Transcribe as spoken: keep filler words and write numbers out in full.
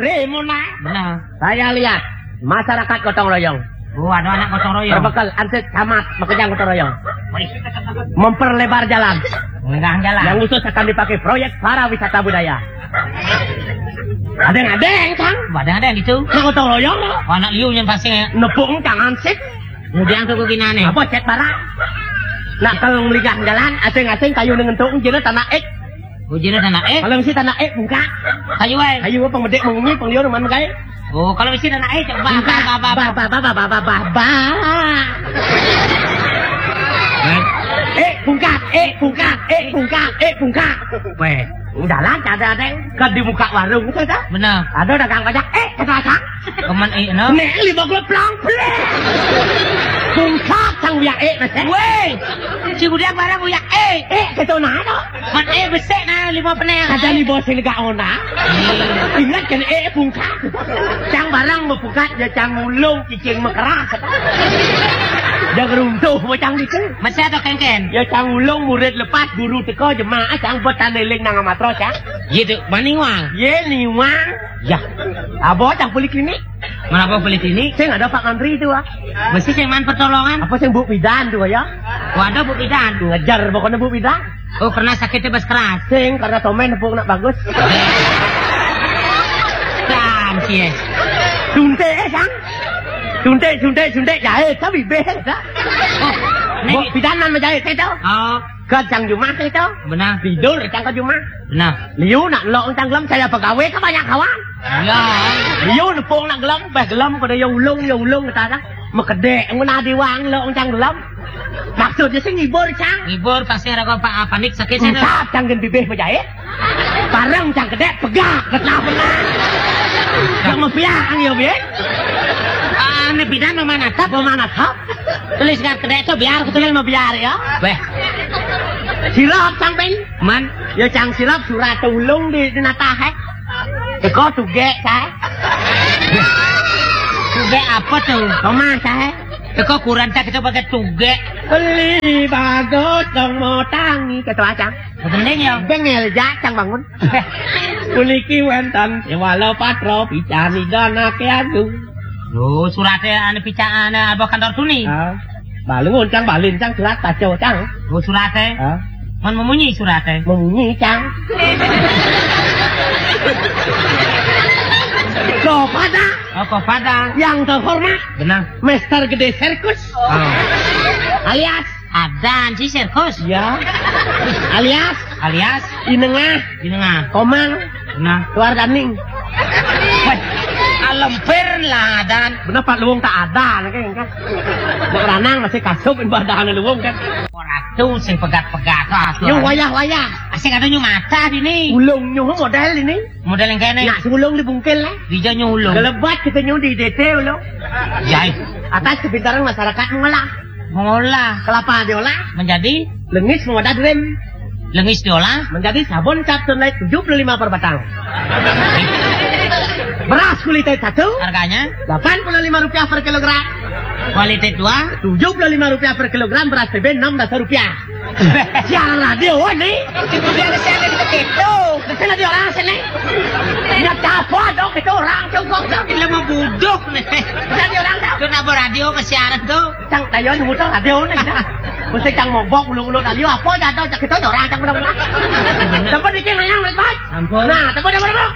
Remona. Benar. Saya lihat masyarakat gotong royong. Oh, ada anak gotong royong. Berbekal ansip camat, makejang gotong royong. Wih. Memperlebar jalan. Menggah jalan. Yang khusus akan dipakai proyek para wisata budaya. Ada yang ada yang sang. Ada yang ada yang gitu. Nah, gotong royong. Oh, anak liu yang pasti ya. Nepuk kang ansip. Kemudian tuh ginane. Apa cet barang? Nah, kalau meligang jalan, asing-asing kayu dengan tuh, jelas tanah ek. Ujine tanah eh. Kalau mesti tanah eh buka. Kayu wae. Kayu apa medek mengungi pengliur man kae. Oh, kalau mesti tanah eh coba. Buka. Ba, ba, ba, ba, ba, ba, ba, ba, ba, ba. Eh, bungkat, eh, bungkat, eh, bungkat, eh, bungkat. Weh, jalan ada ada ke di muka warung itu dah. Benar. Ada dagang pajak, eh, kata akang. Kemen eh no. Nek lima puluh plang plek. Bungkat sang uyak eh, mas. Weh, si budak barang uyak eh. Eh, gitu nah, no. Man eh besek nah lima peneh. Kata ni bos ini gak ona. Ingat kan eh bungkat. Cang barang mau bungkat ya cang ulung cicing mekerah. Dia geruntuh macam gitu. Masih ada kengken. Ya cang ulung murid lepas guru teko jemaah cang buat taneling nang amatro cang. Gitu, maniwang. Ye niwang. Ya. Abo cang poliklinik. Mana apa poliklinik? Saya nggak ada Pak Ngantri itu ah. Mesti saya man pertolongan. Apa sih Bu Bidan tuh ya? Waduh Bu Bidan. Ngejar pokoknya Bu Bidan. Oh, karena sakitnya bas keras. Sing karena tomen nepuk nak bagus. Dan sih. Suntik eh sang. Suntik suntik suntik jahit tapi beh dah. Oh, Bu Bidan nan menjahit itu. Oh. Ke cang jumah itu. Benar. Tidur cang ke jumah. Benar. Liu nak lok cang gelem saya pegawai ke banyak kawan. Ya. Liu nepung nak gelem, bah gelem pada ya ulung ya ulung kata dah. Mekedek ngena diwang lok cang gelem. Maksudnya sih ngibur cang. Ngibur pasti ada kau panik sakit saya. Entah cang gen bibih menjahit. Bareng cang kedek pegak betah benar. Yang mau piang ya bi. Ah, ini bidan mau mana tap? Mau mana tap? Tulis ngat kedek tu biar aku tulis mau biar ya. Weh. Silap cang pen. Man. Ya cang silap surat ulung di di natah eh. Teko tugek saya. Tugek apa tuh? Rumah saya. Teko kuran tak kita pakai tugek. Beli bagus dong mau tangi kata acang. Penting ya. Bengel jacang bangun. Puniki wonten Dewala Patra picani danake agung. Lho, surate ane picane apa kantor tuni? Ah. Balung oncang balin cang surat baca cang. Oh, surate. Ah. Man memunyi surate. Memunyi cang. Kepada. Oh, kepada. Yang terhormat. Benar. Mister Gede Sirkus. Oh. Alias Adan si Sirkus. Ya. Alias alias Inengah. Inengah. Komang. Nah, keluar daning. Wah, alempir lah Adan. Bener Pak Luwung tak ada lagi kan. Nek lanang masih kasub ibadah luwung kan. Ora tuh sing pegat-pegat ah. Yo wayah-wayah. Asik ada nyu mata dini. Ulung nyu model ini. Model yang kene. Nak ulung dibungkil lah. Dija nyu ulung. Gelebat kita nyu di D T ulung. Jai. Atas kepintaran masyarakat mengolah. Mengolah kelapa diolah menjadi lengis mengolah drum. Lengis diolah menjadi sabun cap sunlight tujuh puluh lima per batang. Beras kualitas satu harganya delapan puluh lima rupiah per kilogram. Kualitas dua tujuh puluh lima rupiah per kilogram, beras T B enam belas rupiah. Siaran radio nih. Itu dia siaran itu. Di sini di orang sini. Nggak apa dong itu orang cukup. Kita mau budok nih. Bisa di orang tahu. Kenapa radio ke siaran tuh? Cang tayo nunggu tuh radio nih. Mesti cang mobok ulu-ulu radio apa jatuh cak itu orang cang udah udah. Tempat dikit nanya mereka. Ampun. Nah, tempat tempat tempat.